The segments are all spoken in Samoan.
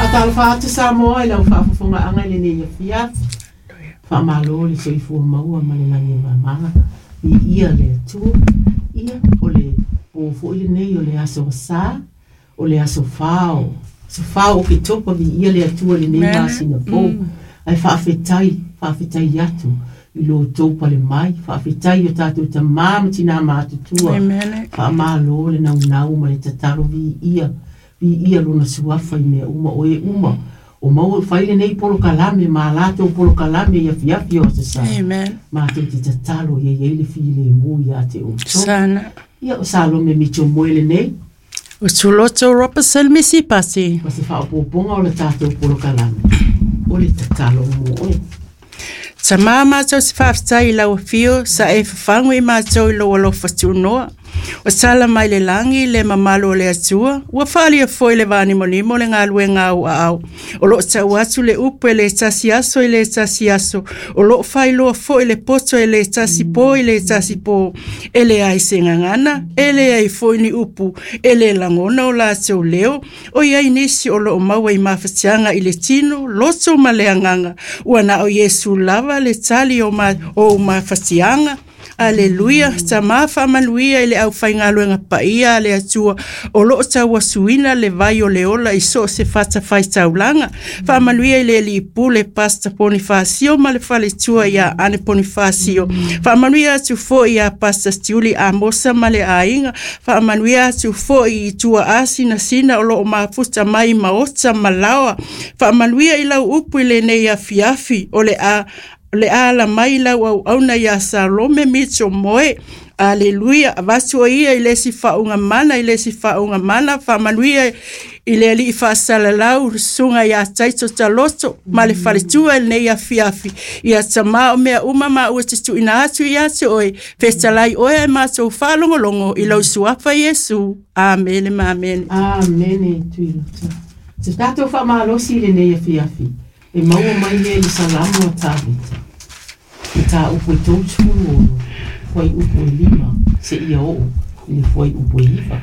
Faatalofa atu Samoa i lau faafofogaaga i lenei afiafi. Faamalo le soifua maua ma le lagi e mama. Viia le Atua. Ia, o le po foi lenei o le aso Sa, o le aso 4, aso 4 o Oketopa, viia le Atua i lenei masina fou. Ae faafetai, faafetai atu i lo outou pale mai, faafetai i o tatou tamā ma tinā matutua. Faamalo le naunau ma le tatalo, viia, viia lona suafa i mea uma, o e uma o maua fai lenei polokalame ma latou polokalame i afiafi o aso Sa. Matou te tatalo ia i ai le filemu ia te outou. Sana. Ia, o Salome Mitchell Moe lenei. O Tuloto Robertson Missy Pasi. Ma se faaopoopoga o le tatou polokalame, o le tatalo mo oe. Tamā matou te faafetai i lau afio sa e fafagu i matou i lou alofa tunoa. Ua tala mai le lagi le mamalu o le Atua, ua faaalia foi le vanimonimo le galuega a ou aao. O lo o tau atu le upu e le tasi aso i le tasi aso, o lo o faailoa foi le poto e le tasi po i le tasi po. E leai se gagana, e leai foi ni upu, e le lagona o latou leo. O i ai nisi o lo o maua i mafatiaga i le tino, loto ma le agaga. Ua na o Iesu lava le tali o ou mafatiaga. Aleluia, Tamā faamanuia i le aufaigaluega paia a le Atua o lo o tauasuina le vai o le ola i so o se fatafaitaulaga. Faamanuia i le Alii Pule, Pastor Ponifasio ma le faletua ia Ane Ponifasio. Faamanuia atu foi ia Pastor Stiuli Amosa ma le aiga. Faamanuia atu foi i tuaasinasina o lo o mafuta mai maota ma laoa. Faamanuia i lau upu i lenei afiafi, o le a ala mai lau auauna ia Salome Mitchell Moe. Aleluia, avatu o ia i le isi faauuga mana, i le isi faauuga mana. Faamanuia i le Alii faasalalau, le susuga ia Taito Taloto ma le faletua i lenei afiafi. Ia Tamā o mea uma ma ua te tuuina atu ia te oe, fetalai oe ae matou faalogologo i lau suafa Iesu. Amene ma amene. Amene, Tuiloto. Se tatou faamalosi i lenei afiafi, e maua mai lea i le Salamo a Tavita, mataupu e 36, fuaiupu e 5 seia oo i le fuaiupu e 9.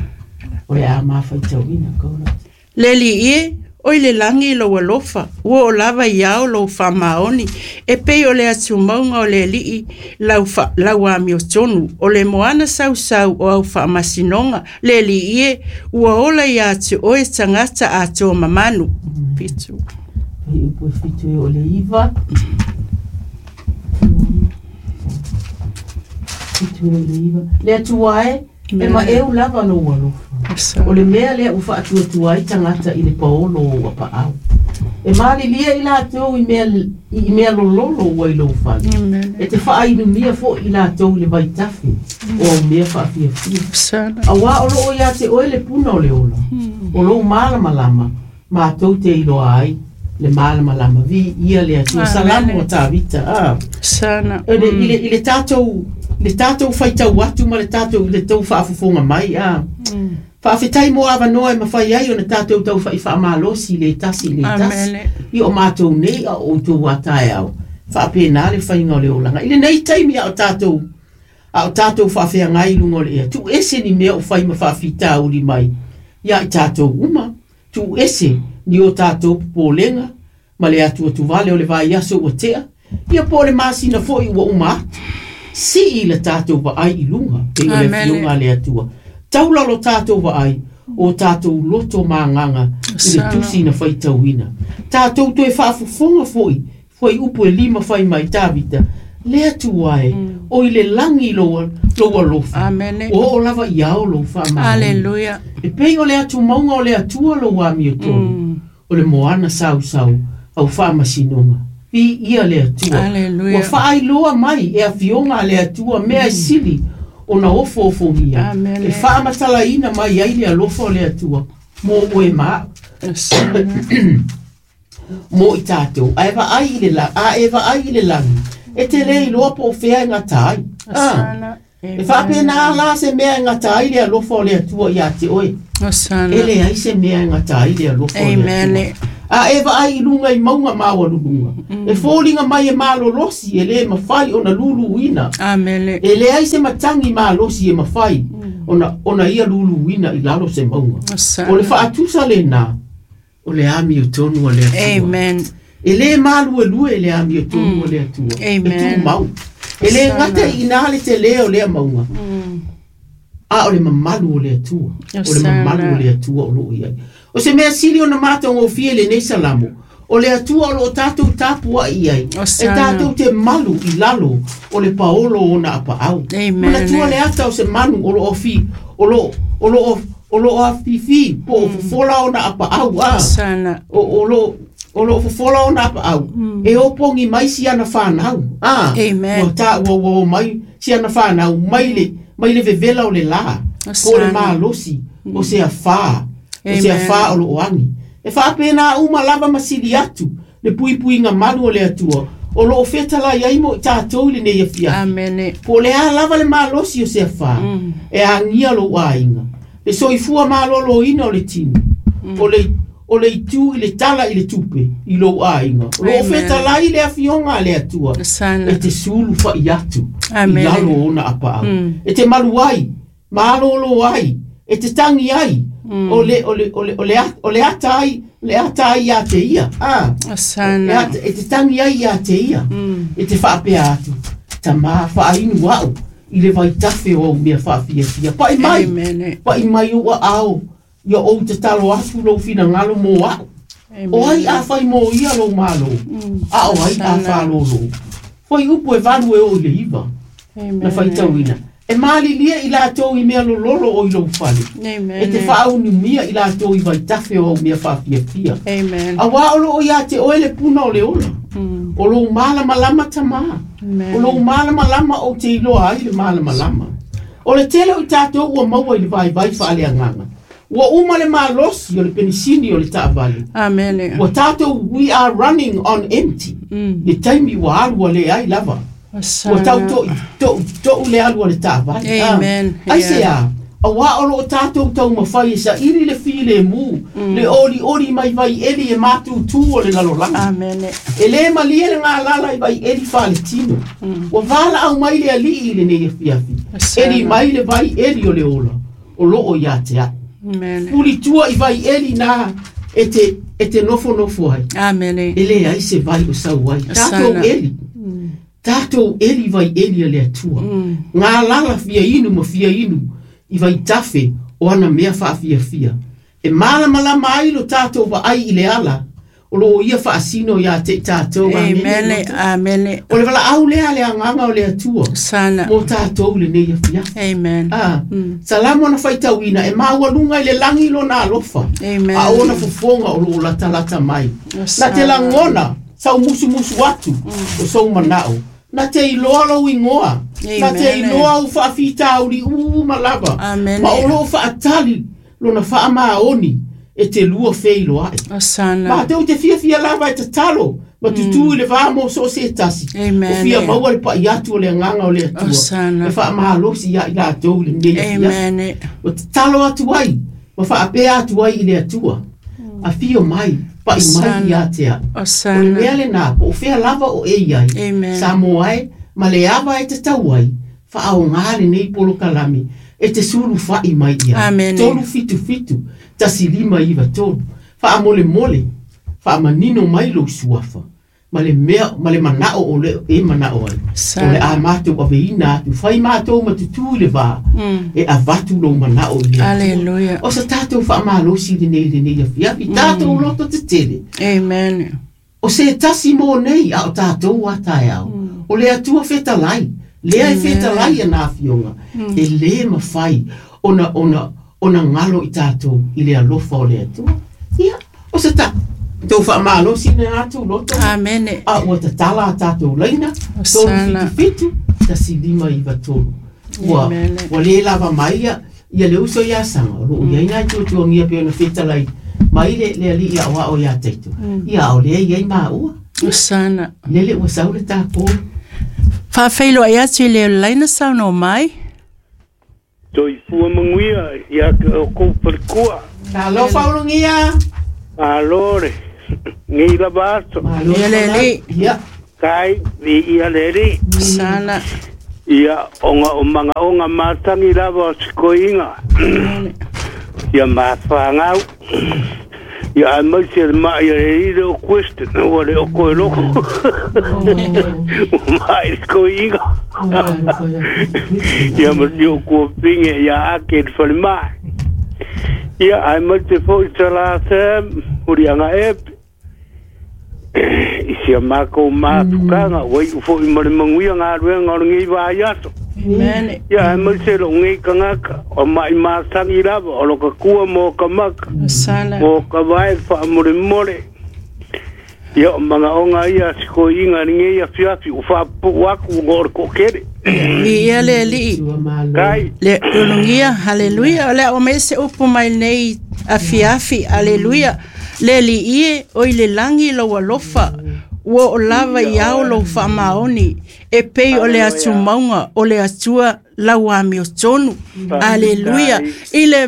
O le a mafaitauina Kauloto. Le Alii e, o i le lagi lou alofa, ua oo lava i ao lou faamaoni, e pei o le atumauga o le Alii lau amiotonu, o le moana sausau o au faamasinoga. Le Alii e, ua ola ia te oe tagata atoa mamanu. 7. Fuaiupu e 7 e oo i le 9. 7 e oo i le 9. Le Atua e, e maeu lava lou alofa. O le mea lea ua faatuatua ai tagata i le paolo o ou apaau. E malilia i latou i mea lololo ua i lou fale. E te faainumia foi i latou i le vaitafe o au mea faafiafia. Auā o loo ia te oe le puna o le ola. O lou malamalama, matou te iloa ai le malamalama. Viia le Atua. Salamo a Tavita. Ah. Sana. I le tatou faitau atu ma le tatou i le tou faafofoga mai. Ah. Faafetai mo avanoa e mafai ai ona tatou tau fai faamalosi le tasi i le tasi. I o matou nei a o outou a taeao. Faapena le faiga o le olaga. I lenei taimi a o tatou faafeagai i luga o le ea, tuu ese ni mea o fai ma faafitauli mai ia i tatou uma. Tuu ese ni o tatou popolega ma le atuatuvale o le vaiaso ua tea, ia po o le masina foi ua uma atu. Sii le tatou vaai i luga, pei o le afioga a le Atua. Taula lo tatou vaai, o tatou loto ma agaga i le tusi na faitauina. Tatou toe faafofoga foi, fuaiupu e 5 fai mai Tavita, le Atua e, o i le lagi lou alofa. Ua oo lava i ao lou faamaoni. Aleluia. E pei o le atumauga o le Atua lou amiotonu, o le moana sausau au faamasinoga. Viia le Atua. Aleluia. Ua faailoa mai e afioga a le Atua mea e sili ona ofoofogia. Amene. E faamatalaina mai ai le alofa o le Atua mo oe ma au. Mo i tatou, ae vaai i le lagi, a e vaai i le lagi, e te le iloa po o fea e gata ai. Ah. Sana. E faapena la se mea e gata ai le alofa o le Atua ia te oe. Sana. E leai se mea e gata ai le alofa o le Atua. A e vaai i luga i mauga maualuluga, e foliga mai e malolosi e le mafai ona luluina. Amene. E leai se matagi malosi e mafai ona ia luluina i lalo se mauga. Sana. O le faatusa lena. O le amiotonu a le Atua. Amen. E lē maluelue le amiotonu a le Atua. E Amen. tumau. E lē gata i inā le telē o lea mauga. A o le mamalu o le Atua. O le mamalu o le Atua o loo i ai. O se mea sili ona matagofie i lenei salamo. O le Atua o loo tatou tapuai i ai. E tatou te malu i lalo o le paolo o ona apaau. Amen. Manatua le ata o se manu o loo fi o loo afifi po o fofola ona apaau a. Sana. O loo fofola ona apaau. E opogi mai si ana whanau. Amen. Ua ta ua ua mai si ana whanau mai le vevela o le la. Po le malosi o se afā. O se afā o loo agi. E whaapena uma lava masili atu le puipuiga malu o le Atua. O loo fetalai ai mo i tatou i lenei afiafi. Amen. Po o le a lava le malosi o se afā. E agia lou aiga. Le soifua malōlōina o le tino. O le itu i le tala i le tupe i lou aiga. O loo fetalai le afioga a le Atua. E te sulu fai atu i lalo o ona apaau. E te malu ai, malōlō ai, e te tangi ai. O le ata ai, le ata ai ia te ia. E te tangi ai ia te ia. E te whaapea atu. Tamā whaainu au i le vaitafe o au mea whaafiafia. Pai mai. Pai mai ua ao. Ia ou te talo atu lou finagalo mo au. O ai a whai mo ia lou malo. A o ai a whālōlō. Whai upu e valu e o i le iwa. Na whaitauina. E malilia i latou i mea lololo o i lou fale. E te whaaunumia i latou i vaitafe o au mea whaafiafia. Amen. A wā o loo ia te oe le puna o le ola. O lou malamalama tamā. O lou malamalama o te iloa ai le malamalama. O le tele o i tatou ua maua i le vaivai faaleagaga. Ua uma le malosi o le penisini o le taavale. Amen. Ua tatou, we are running on empty. Le taimi ua alu a le ai lava. Ua tau to'u le alu a le taavale. Amen. Ai se a, auā o loo tatou taumafai e saili le filemu, le olioli mai vaieli e matutū o le lalolagi. Amen. E lē malie le galala i vaieli faaletino. Ua valaau mai le alii i lenei afiafi. Eli mai le vaieli o le ola, o loo ia te a'u. Amen. Pulitua i vaieli nā e te nofonofo ai. Amen. E lē ai se vai o sau ai. Tatou eli. Tatou eli vai eli a le Atua. Ngā lala fia inu ma fia inu i vaitafe o ana mea whaafiafia. E malamalama ai lo tatou vaai i le ala o loo ia faasino ia te i tatou. Amen. Amen. O le valaau lea le agaga o le Atua. Sana. Mo tatou lenei afiafi. Amen. Salamo na faitauina e maualuga i le lagi lona alofa. Amen. A ona fofoga o loo latalata mai. Na te lagona sau musumusu atu o sou manao. Na te iloa lou igoa. Na te iloa au faafitauli uma lava. Amen. Ma o loo faatali lona faamaoni e te lua feiloai. Osana. Ma te o te fiafia lava e tatalo. Ma tutū i le vā mo so se tasi. Amen. O fia maua le pai atu o le agaga o le Atua. Osana. E faamalosi ia i latou i lenei afiafi. Amen. O tatalo atu ai, ma faapea atu ai i le Atua. Afio mai, pai mai ia te a'u. Osana. O le mea lenā, po o fea lava o e iai. Amen. Sa moa e, ma le ava e tatau ai, faaogā lenei polokalame, e te sulufa'i mai ia. Amen. 377 1593. Faamolemole, faamanino mai lou suafa. Ma le mea, ma le manao o le e manao ai. O le a matou aveina atu, fai matou ma tutū i le vā. E avatu lou manao i le Atua. Hallelujah. O sa tatou faamalosi lenei afiafi, tatou loto tetele. Amen. O se tasi mo nei a o tatou a taeao. O le Atua fetalai, lea e fetalai ana afioga. E lē mafai ona galo i tatou i le alofa o le Atua. Ia, o se tou faamalosi lena atu loto. Amen. A ua tatala a tatou laina, Osana. 377 1593. Ua Amen. ua lē lava mai ia le uso ia saga o loo iai nai tuatuagia pe ona fetalai mai le alii aoao ia taito. Ia o lea iai maua. Osana. Lele ua sau le takou. Faafeiloai atu i le laina saunoa mai. Toifua manuia ia te o kou palekua. Talofa ulugia. Malo le. Ngi lava aso. Malo Ia le alii. Ia. Kai vi ia le alii. Osana. Ia onga o mangaonga matangi lava o sikoiga. Ia mafagau. Ia ai mai se mai e i le o question ua le o koe loko. Mai ko inga. Ia ma ni o kua pinge ia ake le whale mai. Ia ai mai te fo i tala te huri anga epe. I sia mākou māpukanga, wai ufo i mare manguia ngā ruenga o ngi wā iato. Amen. Ia ai mai se lo ngi kangaka, o mai mātangi lava, o loka kua mō ka maka, mō ka vai wha more more. Ia o manga onga ia siko inga ngi ia fiafi, o wha pu aku ngō ko kere. Ia le li. Kai. Le ulungia, haleluya. O le o mese upu mai nei a fiafi, haleluya. Le li ie o i le langi lo alofa. Ua o lava i ao lo whaamaoni. E pei o le atu maunga, o le atua lau amio tonu. Haleluya. I le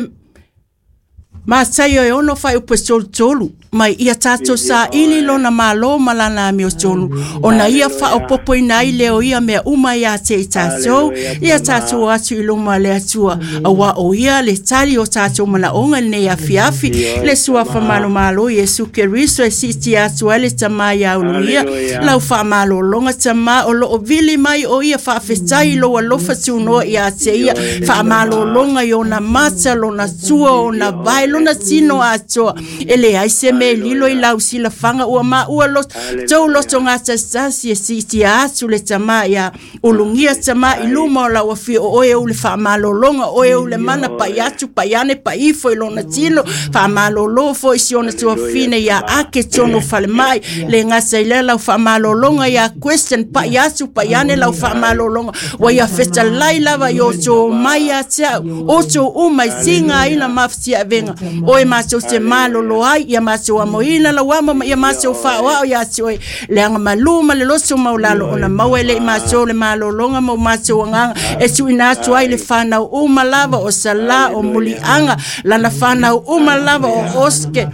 Mātai o e ono whai upe tolu tolu. Mai ia tātou sa ili lona malo malana amio tonu. Ona ia wha o popo ina i leo ia mea uma ia te i tātou. Ia tātou atu i luma le atua. Awa o ia le tali o tātou mana onga nei afiafi. Le suafa malo malo Yesu Keriso e siti atu ale tama ia ulungia. Lau wha malo longa tama o lo o vili mai o ia wha awhetai lo alofa tunoa ia te ia. Wha malo longa i ona mata lona tua ona vai lona tino atoa. E le ai se me lilo i lau sila fanga ua ma ua lo tau loto ngā tasasi e siti atu le tama ia ulungia tama i luma o lau afi o oe ule whaamalolonga oe ule mana pai atu pai ane pai ifo i lona tino whaamalolo fo i si ona tuafine ia ake tono whale mai le ngasa i le lau whaamalolonga ia question pai atu pai ane lau whaamalolonga wa ia fetalai lava i o tō mai a te au o tō umai tinga ina mawhiti a venga oe mātou te malolo ai ia mātou amoina lau amo ia mātou whaoao ia te oe le anga malu ma le loso maulalo ona maua le i mātou le malolonga mau mātou anganga e tuina atu ai le whanau uma lava o sala o mulianga lana whanau uma lava o oske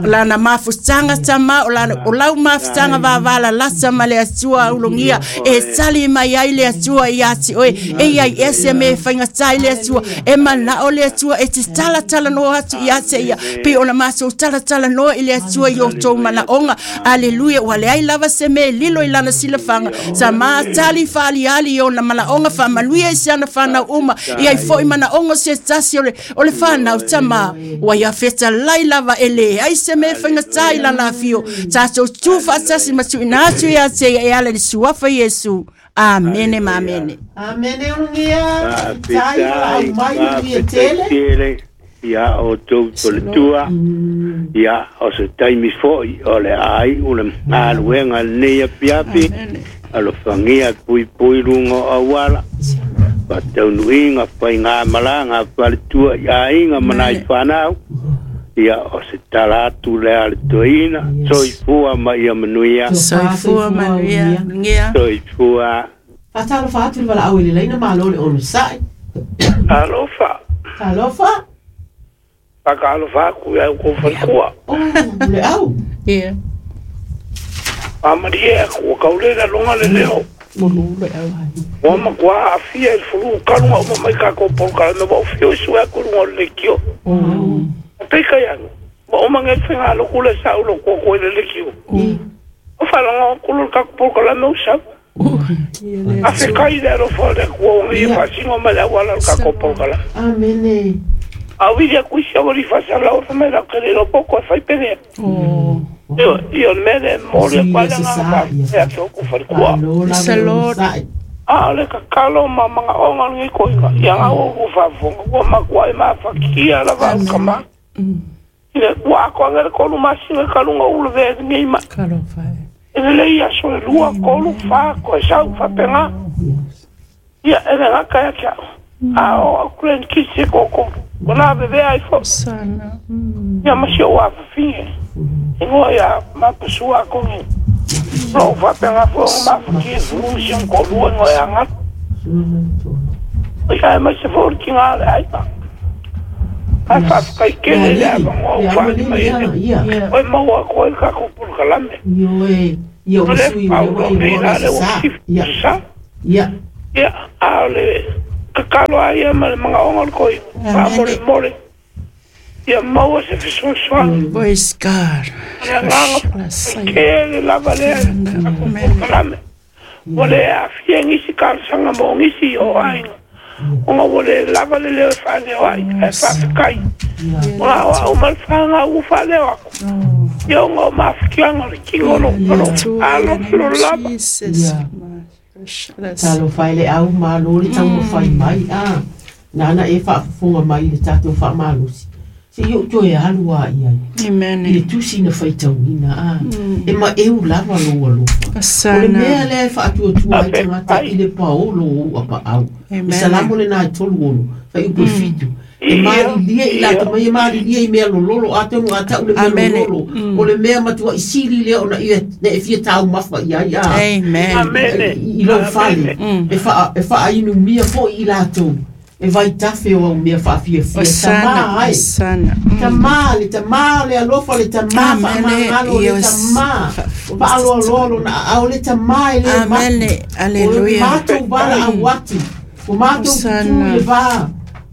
lana mafutanga tama o lana o lau mafutanga vavala lata ma le atua ulungia e tali mai ai le atua ia te oe e iai ese me whaingatai le atua e mana o le atua e te tala tala no atu ia te ia pe ona mātou tala tala noa i le atua i o tō mana onga aleluia ua le ai lava se me lilo i lana silafanga sa mātali whaali ali i ona mana onga whaamanuia i se ana whanau uma i ai foi mana onga se tasi o le whanau tama ua ia wheta lai lava e le ai se me whaingatai lana awhio tātou tū whaatasi matu ina atu ia te ia e ala le suafa Yesu. Amene ma amene. Amene ulungia. Tai wala mai ulungia tele. Ia o tō tua, ia o se taimi foi o le ai o le aluenga nei apiapi, alofangia pui pui runga o awala, pataunuinga whai ngā malanga whaletua i ainga manai whanau, ia o se tala atu le ale toina, soifua ma ia manuia. Soifua manuia. Soifua. Whatalofa atu le wala au i le leina malo le onu sai. Alofa. Alofa. Whakaalofa aku ia ko whalikua. Oh, le au. Yeah. Amari e aku, kaulera longa le leo. Mulu le au. Wa makua afia i fulu kalunga o mamai ka ko polka me wa fio su aku lunga le kio. Peka yang. Wa o mange whenga lo kule sa ulo ko ko le kio. O whalanga kulu ka polka la me usa. A fe kai le ro fa le ko ngi fa singo ma la wala ka ko polka la. Amene. A vidia kuisia ori fasa la o me la kere lo poko fai pere. Oh. Io me mole kwa nga ka e to ku fai kwa. Salot. A le ka kalo mama o ngi ko ia nga o ku fa fo ko ma kwa ma fa kia la va kama. Ile wa ko nga ko lu masina ka lu ngo ve ngi ma. Kalo fai. Ele le ia so lua ko lu fa ko sa fa penga. Ia ele nga ka ya. A o kren kisi ko ko. Ona bebe ai fo. Sana. Ia ma si o a fi. Ingo ia ma pasua ko ni. Lo fa penga fo ma ki fu si ko lu ngo ya nga. Ia ma se fo ki nga ai pa. Ai fa kai ke le a ngo fa ni mai. Oi mo wa ko ka ko pul kalame. Io e io sui o le sa. Ia. Ia. Ia a le kakalo ai ma le mga ongo ko fa mole mole. Ia maua se fesoasoani. Praise God. O le agaga tele lava lea polokalame. Ua le aafia i nisi talosaga mo nisi o aiga, ona ua le lava le leo e faaleo ai, ae faafetai ona o au ma le fanau ua faaleo atu. Ia ona o mafatiaga o le tino o lo alo lava. Jesus. Talofa e le au malo le taumafai mai a nana e faafofoga mai i le tatou faamalosi se i ou toe alu a i ai Amen. i le tusi na faitauina a e maeu lava lou alofa. O le mea lea e faatuatua ai tagata i le paolo o ou apaau. Amen. E salamo lenā e 36 faiupu e 7. E malilie i latou mai, e malilie i mea lololo, atonu a tau le mea Amen. lololo. O le mea matuai sili lea ona ia na e fia taumafa i ai a Amen. Amene. i lou fale. E faainumia foi i latou. E vaitafe o au mea faafiafia. Osana. Tamā ai. Osana. Tamā, le tamā, le alofa, le tamā, Amene. faamagalo, le Yes. tamā, faaloaloa lona aao, le tamā e lē mapu. Amene. O le Hallelujah. matou valaau atu, o matou tutū Osana. i le vā,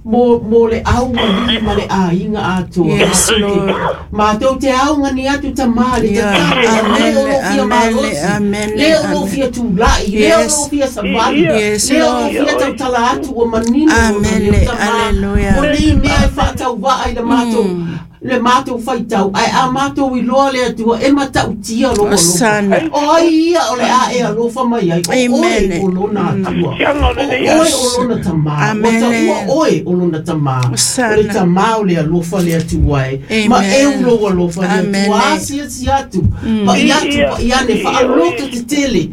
mo le augalii ma le aiga atoa. Yes, Lord. Matou te augani atu tamā le Yeah. tatalo, Amene, le o lou fia amene, malosi, amene, le o lou amene. fia tula'i, le o Yes. lou fia savali, Yes, le o lou Lord. fia tautala atu ua manino lona Amene, leo tamā. hallelujah. O nei mea e faatauvaa i le matou le matou faitau, ae a matou iloa le Atua e matautia lou alofa. Osana. O ai ia o le a e alofa mai ai, o oe Amen. o lona Atua. Siaga o O lenei oe aso. o lona tamā. Ua Amen. taua oe o lona tamā. Osana. O le tamā o le alofa le Atua e. Amen. Ma eu lou alofa le Amen. Atua. Asiasi atu. Pa'i atu, pa'i ane, faaloto tetele.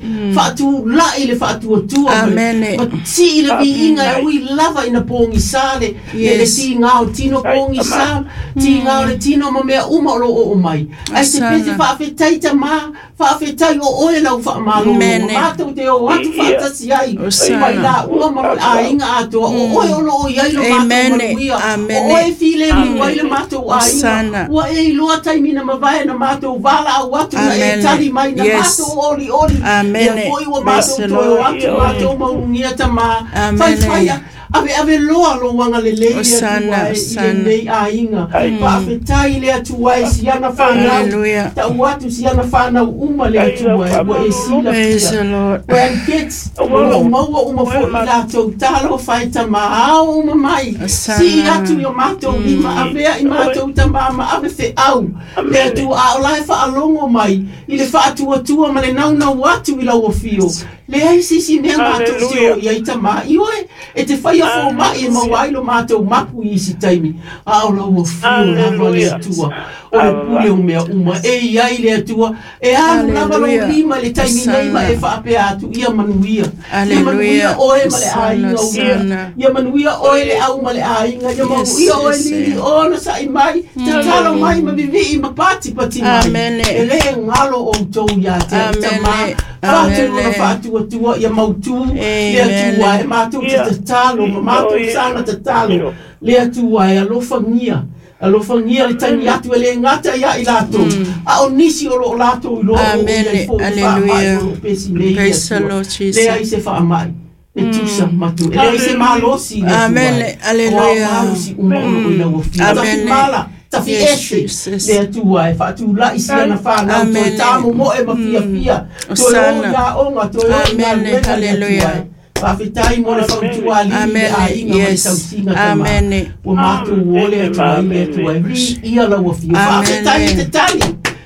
Faatula'i le faatuatua ma le- Amen. ma tii le viiga e ui lava ina pogisā le le Yes. tigā o tino pogisā, tigā o le tino ma mea uma o loo oo mai. Ae se Osana. pese faafetai tamā, faafetai o oe lau faamalolo. Amen. Matou te o atu faatasi ai. Osana. Ma i laua ma le aiga atoa. O oe o loo i ai lo matou Amen. manuia. Amen. O oe filemu ai le matou aiga. Osana. Ua e iloa taimi na mavae na matou valaau atu na e Amen. tali mai na Yes. matou olioli. Amen. Ia foi ua Bless matou the toe o Lord. atu matou maulugia tamā. Amen. Faifaia ave ave loa lou agalelei le Osana, Atua e i Osana. lenei aiga. Faafetai le Atua e siana fanau. Hallelujah. Tau atu siana fanau uma le Atua e ua e Praise silafia. the Lord. Grandkids, o loo maua uma foi i latou talofa e tamā ao uma mai. Osana. Sii atu i o matou lima, avea i matou tamā ma ave feau. Le Atua a o la e faalogo mai i le faatuatua ma le naunau atu i lau afio. Leai sisi mea matou te o i ai tamā. I oe, e te faia fōma'i e maua ai lo matou mapu i isi taimi. A o lau afio lava le Atua. O le pule o mea uma. E i ai le Atua. E alu lava lou Hallelujah. lima i le taimi nei ma e Osana. faapea atu ia manuia. Ia Hallelujah. manuia oe ma le Osana, aiga o ia. Osana. Ia manuia oe le au ma le aiga. Ia Yes, manuia oe yes, lili yes. ona sa'i mai. Tatalo mai ma vivii ma patipati mai. Amen. E lē galo outou iā te au Amen. tamā. Faatu lona Amen. faatuatua ia mautū le Amen. Atua e matou te Ia. tatalo ma matou Ia. sana tatalo. Le Atua e alofagia. Alofagia le tagi atu e lē gata iā i latou. A o nisi o loo latou iloa o Amen. i ai foi faamai Hallelujah. o loo pesi nei le Praise the Atua. Lord Jesus. Leai se faamai. E tusa matu. E leai se malosi le Atua. Amen. O ao Hallelujah. malosi uma o loo i lau afio. Amen. Tafimala, Yes, tafiese Jesus. le Atua e faatula'i siana fanau toe Amen. tamomo'e ma fiafia. Toe o Osana. ia oga, toe o i Amen. galuega le Atua Hallelujah. e. Faafetai mo le fautua alii le Amen. aiga ma le Yes. tausiga tamā. Amen. Ua matou o le Atua i le Atua e viia lau afio. Amen. Faafetai e te tali.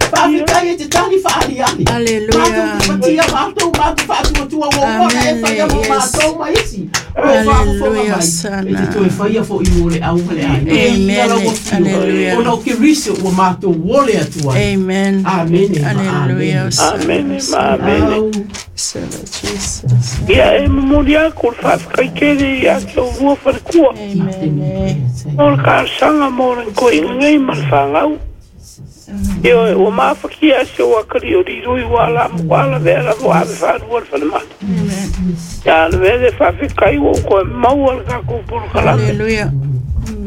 Faafetai e te tali faaliali. Hallelujah. Matou te patia matou matou faatuatua ua uma ona e Amen. faia mo Yes. matou ma isi. O loo faafofoga Hallelujah. mai. E Osana. te toe faia fo'i mo le au ma le aiga. Amen. Viia lau afio. Hallelujah. Ona o Keriso ua matou o le Atua. Amen. Amene ma Hallelujah. amene. Osana. Amene ma amene. Au. Osana, Jesus. Ia e momoli aku le faafetai tele ia te olua falekua. Amen. O le talosaga mo le koiga nei ma le fanau. Ioe, ua mafakia se o akali o lilui ua ala mo ala vea lava o ave faalua le falemai. Amen. Ia le vea le faafetai ua ou toe maua le tatou polokalame. Hallelujah.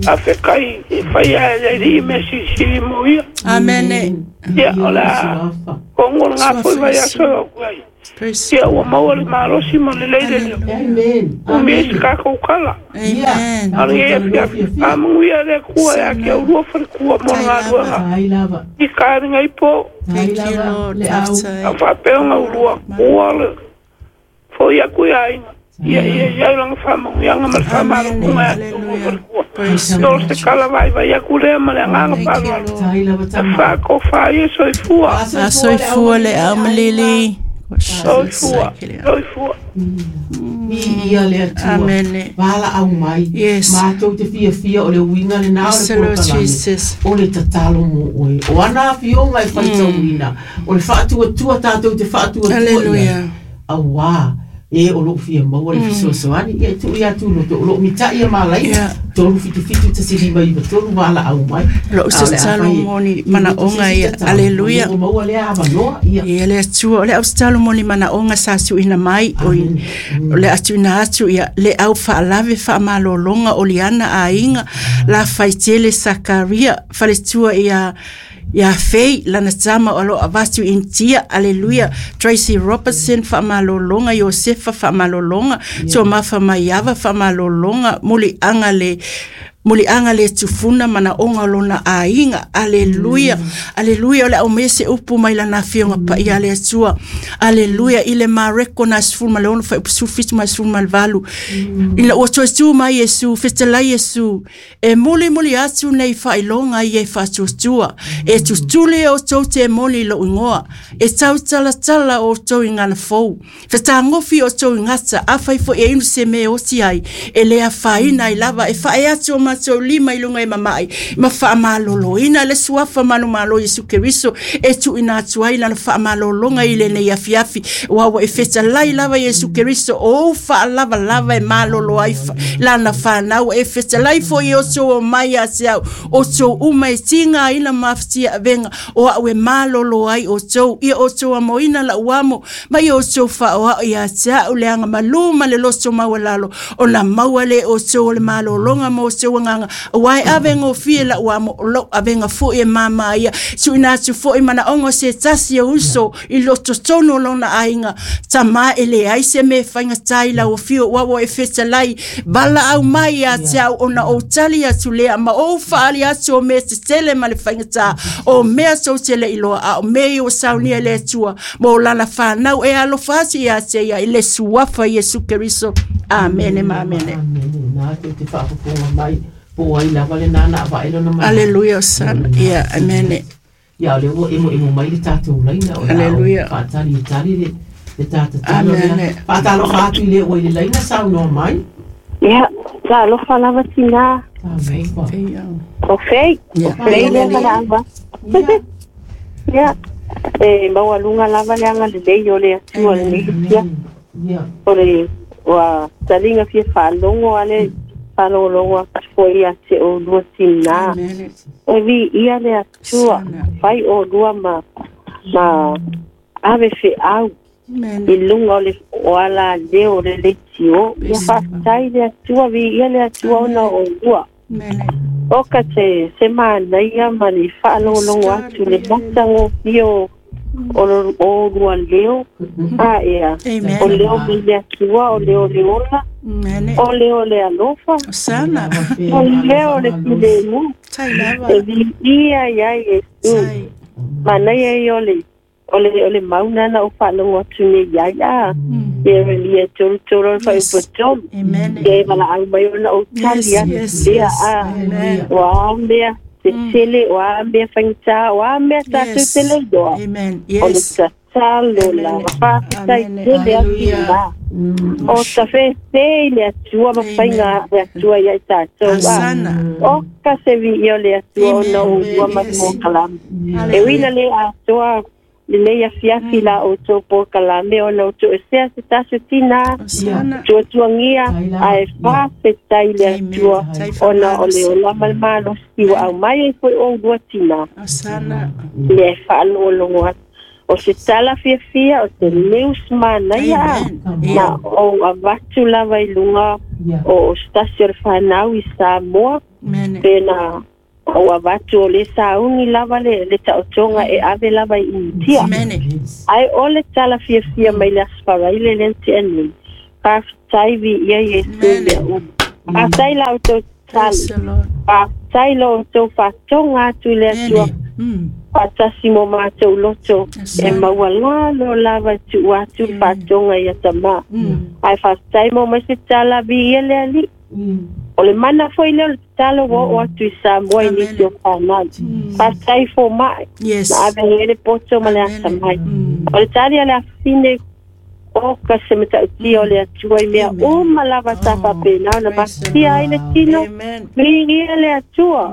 Faafetai e faia e le alii mea silisili mo ia. Amen. Ia o le a Suafa. Kongo le ngā foi vai aso e au ai. Ia ua maua le malosi ma le lei le leo. Amen. Umi e se kākou kala. Amen. Ale e afiafi. Faamanuia le Atua ia te au lua falekua mo le galuega. Ai lava. I kāringa i po. Thank you, Lord. Le au. A faapea ona ulua kua le foi aku ia aiga. Ia ia ia langa faamanuiaga ma le faamalokuga ia te ulua falekua. Praise O se kala vaivai aku lea ma le agaga faaaloalo. Tai lava E tama. faakofa ai e soifua. Asoifua le au malili. Soifua. Soifua. I ia le Atua. Amen. Vala au mai. Yes. Mātou te fiafia o le uiga lenā o Yes, le Lord polokalame. Jesus. O le tatalo mo oe. O ana afioga e faitauina. O le faatuatua tātou te faatuatua i ai. Hallelujah. Auā. E o lou fia maua le fesoasoani. Ia e tuu ia tūloto. O loo mita'i a malaika. Yeah. 3 7 7 1 5 9 3 vala au mai. Lou A o le a tatalo fai e- mo ni manaoga ia. Hallelujah. O loo maua lea avanoa. Ia. Ia le Atua, o le au tatalo mo ni manaoga sa tuuina mai, o o le a tuuina atu ia le au faalave faamalologa o liana aiga, la faitele Sakaria, faletua ia ia Fei, lana tama o lo avatu Intia, aleluia, Tracy Robertson faamalologa, Iosefa faamalologa, Tomafa Maiava faamalologa, muliaga le muliaga le tufuna manaoga o lona aiga, aleluia, aleluia, o le aumea se upu mai lana afioga paia le Atua, aleluia, i le Mareko na 16 fuaiupu 17 ma le 18, ina ua toe tu mai Iesu, fetalai Iesu, e mulimuli atu nei faailoga ia e faatuatua, e tutuli e outou temoni i lou igoa, e tautalatala outou i gana fou, fetagofi outou i gata, afai foi e inu se mea e oti ai, e le afaina ai lava, e faae atu o matou lima i luga e mama'i, ma faamaloloina le suafa manumalo Iesu Keriso, e tuuina atu ai lana faamalologa i lenei afiafi, ua ua e fetalai lava Iesu Keriso, o ou faalavalava e malolo ai lana fanau, e fetalai foi e outou o mai ia te au, outou uma e tigaina ma afatia avega, o a'u e malolo ai outou, ia outou amoina la'u amo, ma ia outou faaoa'o ia te a'u le agamalū ma le loto maualalo, ona maua lē outou o le malologa ma outou agaga, auā e ave gofie la'u amo, o lou avega fo'i e māmā ia, tuuina atu fo'i manaoga o se tasi o uso i lototonu o lona aiga, tamā e leai se mea e faigatā i lau afio, ua ua e fetalai, valaau mai ia te au ona ou tali atu lea, ma ou faali atu o mea tetele ma le faigatā, o mea tou te le'i loa, a o mea ia ua saunia e le Atua, mo lana fanau e alofa atu ia te ia i le suafa Iesu Keriso. Amene ma amene. Amene. Nā te te faafofoga mai. Po ai lava le nana a vae lona mai. Aleluia, Osana. Ia, amene. Ia o le ua emo emo mai le tātou laina o le Hallelujah. ao faatali e tali le le tātatalo Amen. lea. Faatalofa atu i le ua i le laina saunoa mai. Ia, sa alofa lava tinā. Talofa. O fei, o Ia. fei lea malaava. Ia. Ia, e maualuga lava le aga lelei o le Atua lenei ia. Ia. O le ua taliga fia faalogo ale faalogologo atu foi ia te oulua tinā. Amene. E viia le Atua, fai oulua ma ma ave feau Amene. i luga o le o ala leo o le leitio. Ia faafetai le Atua, viia le Atua ona o oulua. Amene. O ka te se manaia ma le faalogologo atu le matagofie o o lo- o lua leo a ea Amen. o leo mai le Atua o leo le ola Amene. o leo le alofa Osana. o leo le filemu Tai lava. e viia iai Iesu Tai. manaia ia o le o le o le mauna na o faalogo atu nei ai a ia ia tolutolu o le faaiupotolu Amen. ia e valaau mai ona ou tali Yes, atu yes, lea yes. a Amen. o a mea tetele o a mea faigata o a mea tatou Yes. te le iloa Amen. o le Yes. tatalo Amen. lava faafetai Amen. tele atu Hallelujah. la o tafefe i le Atua ma faiga le Atua ia i tatou a Osana. o ka se viia o le Atua ona Amen. oulua ma Yes. polokalame e uina le atoa lenei afiafi la outou polokalame ona outou esea se taso tinā Osana. tuatuagia ae faafetai le Amen. Atua Tai ona o le faamalosi. ola ma le malosi ua aumai ai foi oulua tinā Osana. le faalogologo atu o se tala fiafia o se news manaia Amen. na Ia. ou avatu lava i luga Ia. o o se tasi o le fanau i Samoa Amen. pena Ua avatu o le sauni lava le taotoga e ave lava i Initia. Ai o le tala fiafia mai le Aso Faraile lea na tea nei. Faafetai viia Iesu mea uma. Faafetai la outou tatalo. Faafetai lo outou faatoga atu i le Atua. Faatasi mo matou loto e maualalo lava e tuu atu le faatoga ia tamā. Ae faafetai mo mai se tala viia le Alii. O le mana foi lea o le tatalo ua oo atu i Samoa i nisi o fanau. Faafetai foma'i. Na ave ai le poto ma le atamai. O le tali a le afafine o ka se matautia o le Atua i mea uma lava sa faapena ona mafatia ai le tino. Viia le Atua.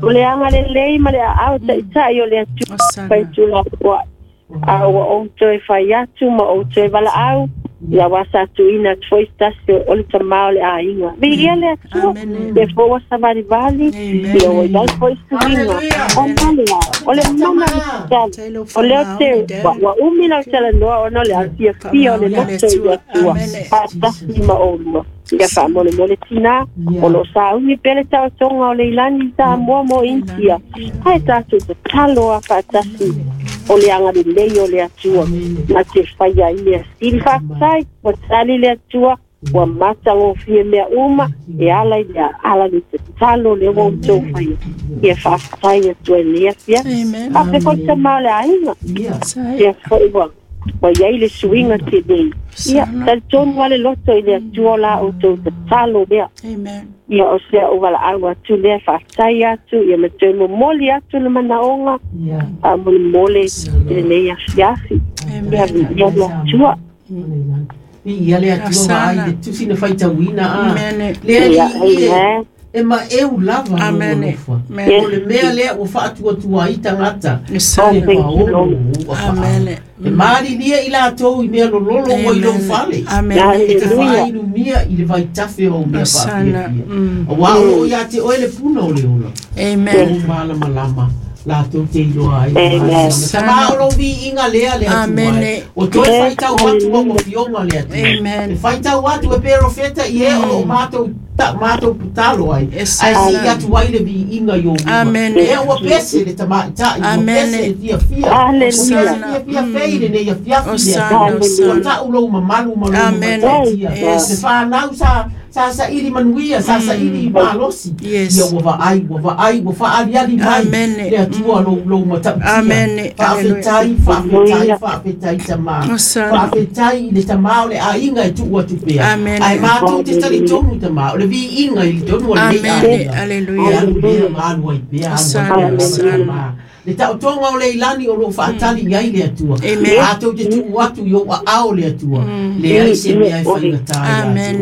O le agalelei ma le aao taitai o le Atua fai tulafoai. A ua ou toe fai atu ma ou toe valaau, ia ua sa tuuina atu foi se tasi o le tamā o le aiga. Viia le Atua, ia foi ua savalivali, ia ua i ai foi suiga. O male a, o le mana o le tatalo. O lea ou te, ua umi lau talanoa ona o le afiafia o le loto i le Atua, faatasi ma oulua. Ia faamolemole tinā, o lo o sauni pea le taotoga o Leilani i Samoa mo Initia, ae tatou tatalo a faatasi o le agalelei o le Atua na te faia ai mea sili. Faafetai, ua tali le Atua, ua matagofie mea uma e ala i le ala le tatalo lea ua outou faia. Ia faafetai atu ai lenei afiafi. Faapea foi le tama o le aiga. Ia foi ua i ai le suiga telei. Ia, talitonu lava le loto i le Atua o la outou tatalo lea. Ia, o se au valaau atu lea, faafetai atu, ia ma toe momoli atu le manaoga, faamolemole i lenei afiafi. Ia, viia le Atua. Viia le Atua vaai le tusi na faitauina a. Le Alii e. E maeu lava lou alofa. O le mea lea ua faatuatua ai tagata i le paolo o ou afaau. E malilie i latou i mea lololo ua i lou fale, e te faainumia i le vaitafe o au mea faafiafia. Aua o lo o ia te oe le puna o le ola, o lou malamalama latou te iloa ai le malamalama. Tama o lou viiga lea le Atua e, ua toe faitau atu lau Afioga le Atua. E faitau atu e perofeta i e o lo o matou matou tatalo ai, ae sii atu ai le viiga i ou luma. Lea ua pese le tamaitai, ua pese le fiafia, ua pese le fiafia fei lenei afiafi le Atua. Ua tau lou mamalu ma lou matautia. Le fanau sa Sa saili manuia, sa saili malosi. Ia ua vaai, ua vaai, ua faaaliali mai le Atua lou, lou matautia. Faafetai, faafetai, faafetai Tamā. Faafetai i le Tamā o le aiga e tuu atu pea. Ae matou te talitonu Tamā, o le viiga i totonu o lenei aiga. E alu pea ma alu ai pea, alu ai pea, Tamā. Le taotoga o Leilani o lo o faatali i ai le Atua. Matou te tuu atu i ou aao le Atua, leai se mea e faigata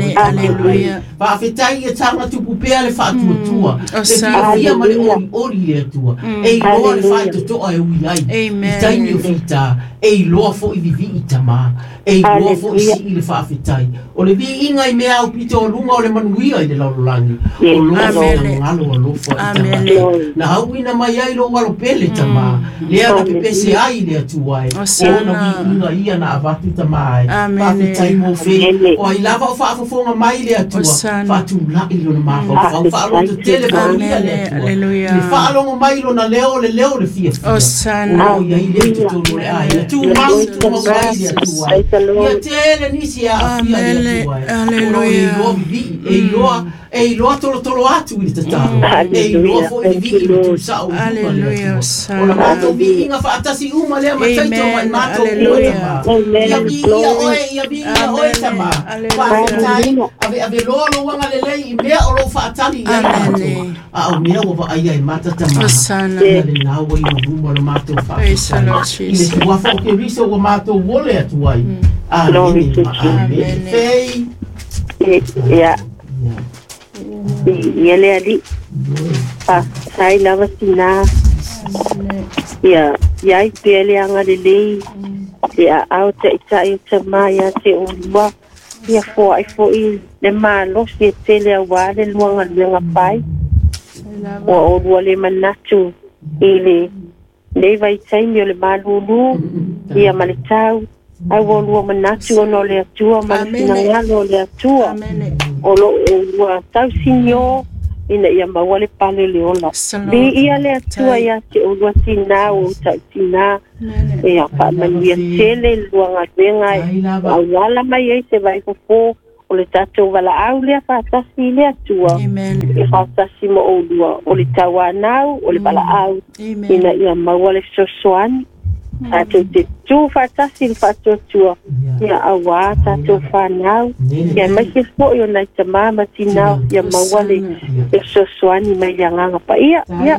ia te oe. Faafetai ia taga tupu pea le faatuatua, le fiafia ma le olioli le Atua. E iloa le faitotoa e ui ai i taimi o fita, e iloa foi vivii Tama, e iloa foi sii le faafetai. O le viiga i mea aupito o luga o le manuia i le lalolagi, o lou finagalo alofa i tagata. Na hauina mai ai lou alo pele, Tamā, lea na pepese ai i le Atua e, o ona viiga ia na avatu, Tamā e. Faafetai mo fe, o ai lava o faafofoga mai le Atua, faatulai lona mafaufau, faalototele manuia le Atua, i le faalogo mai lona leo, o le leo o le fiafia, o lo o i ai lea i totonu o le aiga. Tumau, tumau mai le Atua e. Ia tele nisi e aafia i le Atua e. O lo o e iloa vivii, e iloa, e iloa tolotolo atu i le tatalo, e iloa foi vivii ma tusao i luma le Atua. O la matou viiga faatasi uma lea ma taito ma i matou uma, Tamā. Ia viia oe, ia viia oe, Tamā. Faafetai, aveave loa lou agalelei i mea o lo o faatali i ai matou. A o mea ua vaaia e mata Tamā, ia lena ua i ou luma la matou faafetai. I le suafa o Keriso ua matou ole atu ai. Amene ma amene. Fei. Ia. Ia le Alii. Faafetai lava tinā. Ia i ai pea le agalelei, le aao taitai o Tamā ia te oulua. Ia foai foi le malosi e tele aua le lua galuega fai. Ua oulua le manatu i le nei vaitaimi o le malūlū, ia ma le tau, ae ua oulua manatu ona o le Atua ma le finagalo o le Atua. O lo o oulua tausiniō ina ia maua le pale le ola. Viia le Atua ia te oulua tinā o ou ta'utinā ia faamanuia tele i le lua galuega e auala mai ai se vaifofō o le tatou valaau lea faatasi i le Atua e faatasi ma oulua o le tauanau o le valaau ina ia maua le fesoasoani tatou te tū faatasi i le faatuatua ia auā tatou fanau ia aemaise fo'i o nai tamā ma tinā ia maua le fesoasoani mai le Agaga Paia. Ia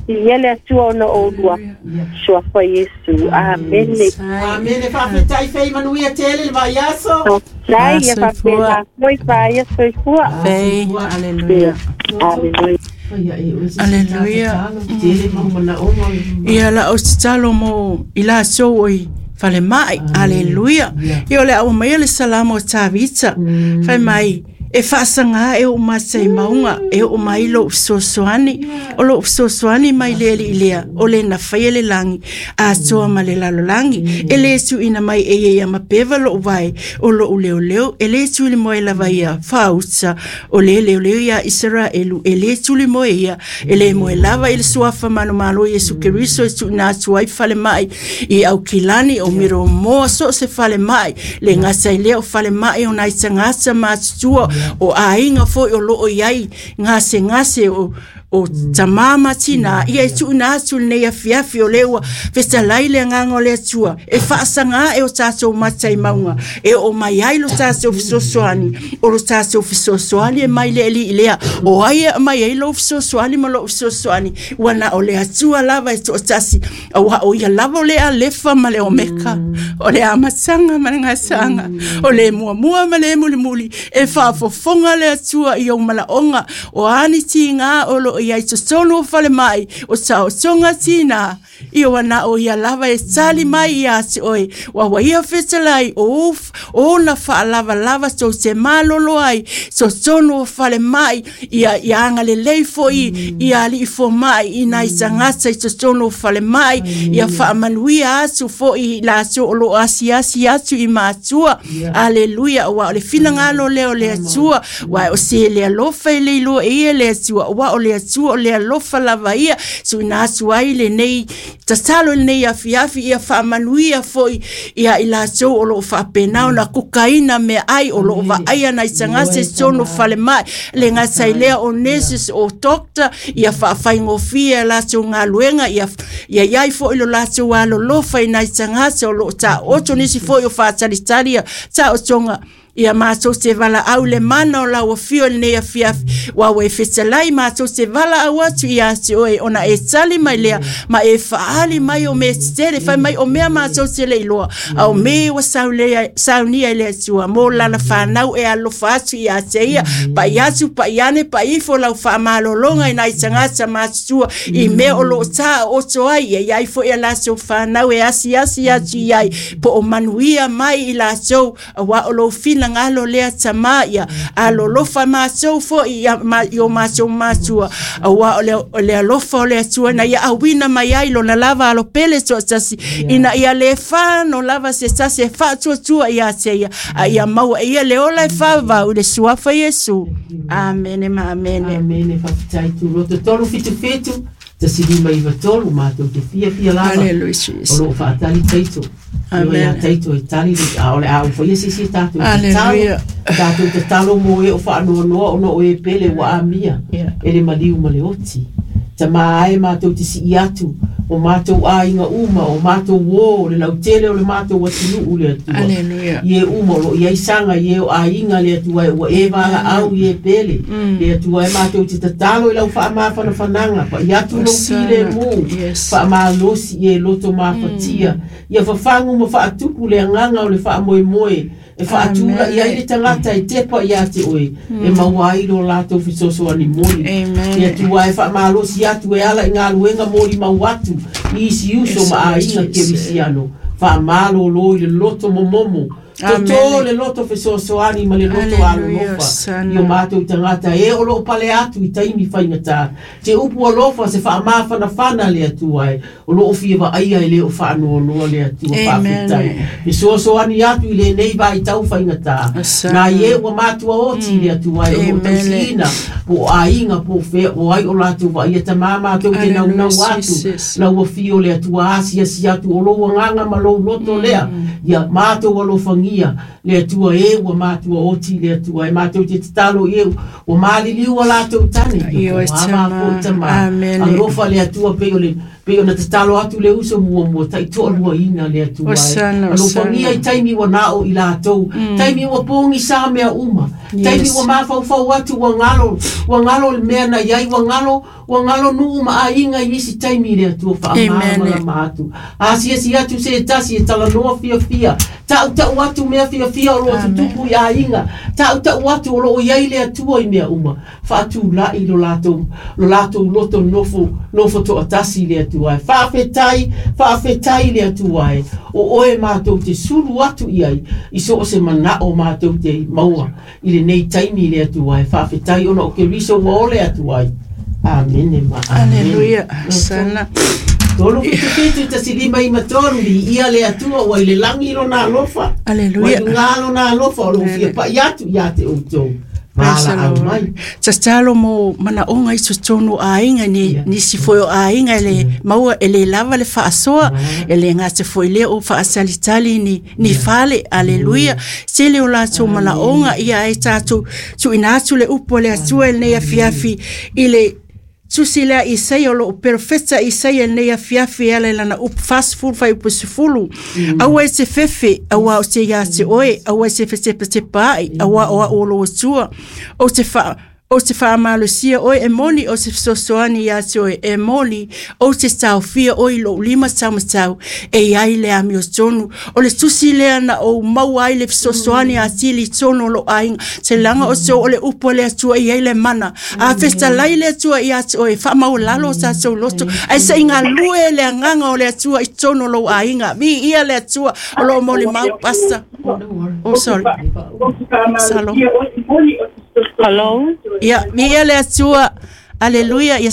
viia le Atua ona o oulua suafa Iesu. Amene. Amene. Faafetai fei manuia tele le vaiaso. Faafetai ia faapena foi faia soifua. Fei. Aleluia. Aleluia. Aleluia. Ia la o tatalo mo i latou oi falemai. Aleluia. Ia o le au mai le salamo o Tavita. Fai mai e faasagā e oʻu mata i mauga e oo mai lou fesoasoani o lou fesoasoani mai le alii lea o le na faia le lagi atoa ma le lalolagi e lē tuuina mai e ia ia mapeva loʻu vae o loʻu leoleo e lē tulimoe lava ia faauta o le leoleo iā Isaraelu e lē tulimoe ia e lē moe lava i le suafa manumalo Iesu Keriso e tuuina atu ai falemai i Aukilani o Miromoa so o se falemai le gata i lea o falemai o nai tagata matutua o aiga foi o loo iai gasegase o tamā ma tinā ia e tuuina atu lenei afiafi o lea ua fetalai le agaga o le Atua e faasagā e o tatou mata i mauga e oo mai ai lo tatou fesoasoani o lo tatou fesoasoani e mai le alii lea o ai e aumai ai lou fesoasoani ma lou fesoasoani ua na o le Atua lava e toatasi auā o ia lava o le Alefa ma le Omeka o le amataga ma le gasaaga o le muamua ma le mulimuli e faafofoga le Atua i ou malaoga o ani tigā o loo iai totonu o falemai o taotoga tinā ia ua na o ia lava e tali mai iā te oe ua ua ia fetalai o ona faalavalava tou te malolo ai totonu o falemai ia ia agalelei foi ia alii fomai i nai tagata i totonu o falemai ia faamanuia atu foi i latou o loo asiasi atu i matua. Aleluia. Auā o le finagalo lea o le Atua uae o se le alofa e le iloa e ia le Atua auā o le Atua o le alofa lava ia tuuina atu ai lenei tatalo i lenei afiafi ia faamanuia foi ia i latou o loo faapena ona kukaina meaai o loo vaaia nai tagata i totonu o falemai le gata i lea o nurses o doctor ia faafaigofie a latou galuega ia ia iai foi lo latou alolofa i nai tagata o loo taoto nisi foi o faatalitali ia taotoga ia matou te valaau i le mana o lau afio i lenei afiafi ua ua e fetalai matou te valaau atu ia te oe ona e tali mai lea ma e faali mai o mea tetele fai mai o mea matou te le iloa a o me ua saunia i le Atua mo lana fanau e alofa atu ia te ia pa'i atu pa'i ane pa'i ifo lau faamalologa i nai tagata matutua i mea o loo taoto ai ia iai foi a latou fanau e asiasi atu i ai po o manuia mai i latou auā o lou finagalo lea tamā ia alolofa matou foi ia i o matou matua auā o le alofa o le Atua na ia auina mai ai lona lava alopele toatasi ina ia le fano lava se tasi e faatuatua ia te ia a ia maua e ia le ola e faavavau i le suafa Iesu. Amene ma amene. Amene. Faafetai tuloto 377 1593 matou te fiafia lava Hallelujah o Jesus. loo faatali taito. Amen. Ia taito e tali le a o le a ufaia sisi tatou tatalo. Hallelujah. Tatou tatalo mo e o faanoanoa ona o e pele ua amia e le maliu ma le oti. Tamā ai matou te sii atu o matou aiga uma o matou uō o le lautele o le matou atunuu le Atua. Hallelujah. I e uma o loo iai saga i e o aiga le Atua e ua e valaau i e pele le Atua e matou te tatalo i lau faamafanafanaga pa'i atu lou filemu Yes. faamalosi i e loto mafatia ia fafagu ma faatupu le agaga o le faamoemoe e faatula'i ai le tagata e tepa iā te oe e maua ai lo latou fesoasoani moni Amen. le Atua e faamalosi atu e ala i galuega molimau atu i isi uso Yes, ma Lord aiga Jesus. kerisiano faamalōlō i le loto momomo Toto le loto fesoasoani ma le loto alolofa i o matou tagata e o loo pale atu i taimi faigata. Te upu alofa se faamafanafana le Atua e o loo fia vaaia e lē o faanoanoa le Atua. Faafetai fesoasoani atu i lenei vaitau faigata nai e ua matua oti le Atua e o loo tausiina po o aiga po o fea o ai o latou vaaia tamā matou te naunau atu lau afio le Atua asiasi atu o lou agaga ma lou loto lea ia matou alofagia le Atua e ua matua oti le Atua e matou te tatalo i e ua maliliu a latou tane ia ava foi tamā alofa le Atua pei o le pei ona tatalo atu le uso muamua taitoaluaina le Atua alofagia i taimi ua nao i latou taimi ua pogisa mea uma taimi ua mafaufau atu ua galo le mea na iai ua galo nuu ma aiga i isi taimi le Atua faamalamalama atu asiasi atu se tasi e talanoa fiafia tautau atu mea fiafia o loo tutupu i aiga tautau atu o loo iai le Atua i mea uma faatulai lo latou loto nofo toatasi le Atua e faafetai le Atua e o oe matou te sulu atu i ai i so o se manao matou te maua i lenei taimi le Atua e faafetai ona o Keriso ua o le Atua ai. Amene ma amene. Aleluia. Sana. 3 7 7 1 5 3 li ia le Atua ua i le lagi lona alofa. Aleluia. Ua i luga lona alofa o loo fia pai atu ia te outou. Tatalo mo manaoga i totonu o aiga nisi foi o aiga e le maua e le lava le faasoa e le gata foi lea o faasalitali ni fale. Aleluia. Tele o latou manaoga ia ai tatou tuuina atu le upu a le Atua i lenei afiafi i le tusi lea Isaia o loo perofeta Isaia lenei afiafi e ala i lana upu 40 fuaiupu 10. Aua e te fefe, aua o te ia te oe, aua e te fetepatepaai, aua o au o lou Atua. O te faamalosia oe e moni, o te fesoasoani ia te oe e moni, o te taofia oe i lou lima taumatau, e iai le amiotonu. O le tusi lea na ou maua ai le fesoasoani atili i tonu o lou aiga. Te laga o te o le upu a le Atua i ai le mana. A fetalai le Atua ia te oe, faamaualalo o tatou loto. Ae se i galue le agaga o le Atua i tonu o lou aiga. Viia le Atua o loo molimau pasta. Oh, sorry. Salo. Hello. Ia, viia le Atua. Aleluia. Ia,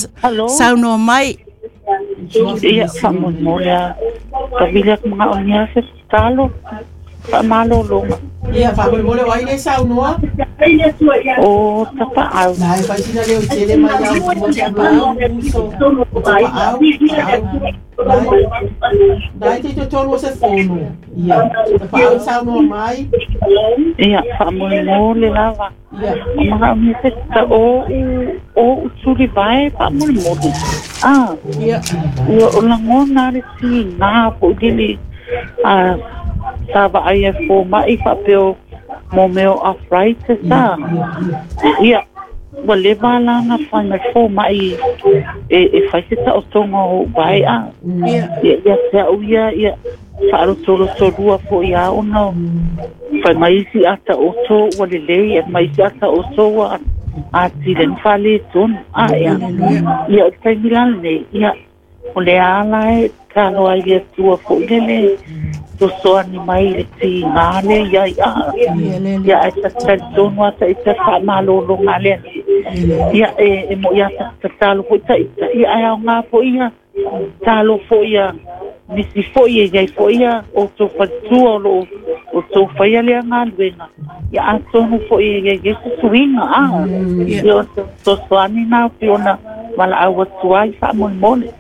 saunoa mai. Ia, faamolemole a tavili atu magaogia se tatalo faamalologa. Ia, faamolemole o ai le saunoa? O tapaau. Nai faisina leo tele mai au mo tapaau uso. O tapaau. Nai te totonu o se fono. Ia, tapaau saunoa mai. Ia, faamolemole lava. O magaogia se o utuli vae faamolemole. Ah, ia. Ua o lagona le tigā foʻi lili a sa vaai ai fomaʻi faapea mo mea o arthritis a. Ia, ua leva lana fai mai fomaʻi e fai se taotoga o ou vae a. Ia, ia te au ia, ia faalotolotolua foʻi a ona fai mai isi ata oto ua lelei e mai isi ata oto ua atili ai ma faaletonu a. Ia, ia o le taimi la lenei, ia o le ala e tatalo ai le Atua foʻi lele sosoani mai le tigā le iai a. Ia ae tatalitonu a taita faamalologa lea. Ia e moʻi a tatalo foʻi taita ia ae aogā foʻi ia talo foʻi ia nisi foʻi e iai foʻi ia outou faletua o loo outou faia lea galuega. Ia atonu foʻi e iai ai se suiga a. Ia o sosoani na o ona valaau atu ai faamolemole.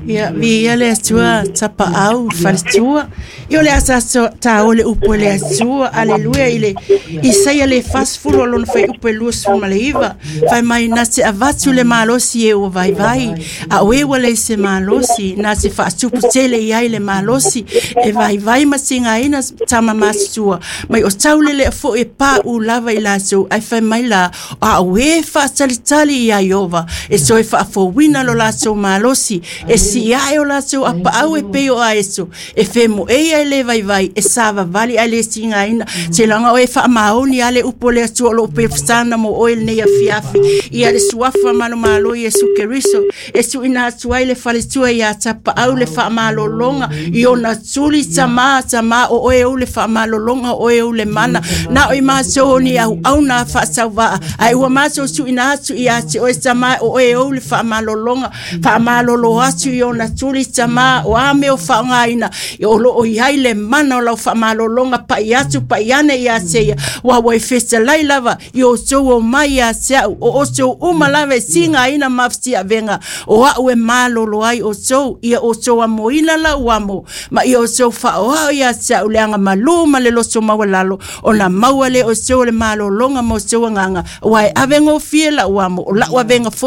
Ia, viia le Atua tapaau faletua. Ia o le asa taole upu e le Atua. Aleluia. I le Isaia le 40 o lona fuaiupu e 29. Fai mai na te avatu le malosi e ua vaivai. A oe ua le se malosi, na te faatupu tele i ai le malosi e vaivai ma tigaina tama matutua. Mai o taulele foʻi e paʻu lava i latou ai fai mai la a oe faatalitali ia Iova e toe faafouina lo latou malosi, e siae o latou apaau e pei o aeso, e femoei ai le vaivai, e savavali ai le tigaina, te laga o e faamaoni a le upu o le Atua o loo pefesana mo oe lenei afiafi, ia le suafa manumalo Iesu Keriso, e tuuina atu ai le faletua ia Tapaau le faamalologa i ona tuli tamā tamā o oe ou le faamalologa o oe ou le mana, na o i matou o ni auauna faatauvaa, ae ua matou tuuina atu ia te oe tamā o oe ou le faamalologa, faamalolo atu i ona tuli tamā o a mea o faaaogaina, o loo i ai le mana o lau faamalologa pai atu pai ane ia te ia, ua ua e fetalai lava i outou o mai ia te au, o outou uma lava e tigaina ma fetiavega, o au e malolo ai outou, ia outou amoina lau amo, ma ia outou faaoao ia te au le agamalu ma le loto maualalo, ona maua lea o outou o le malologa ma outou agaga, aua e avegofie lau amo, o lau avega foi.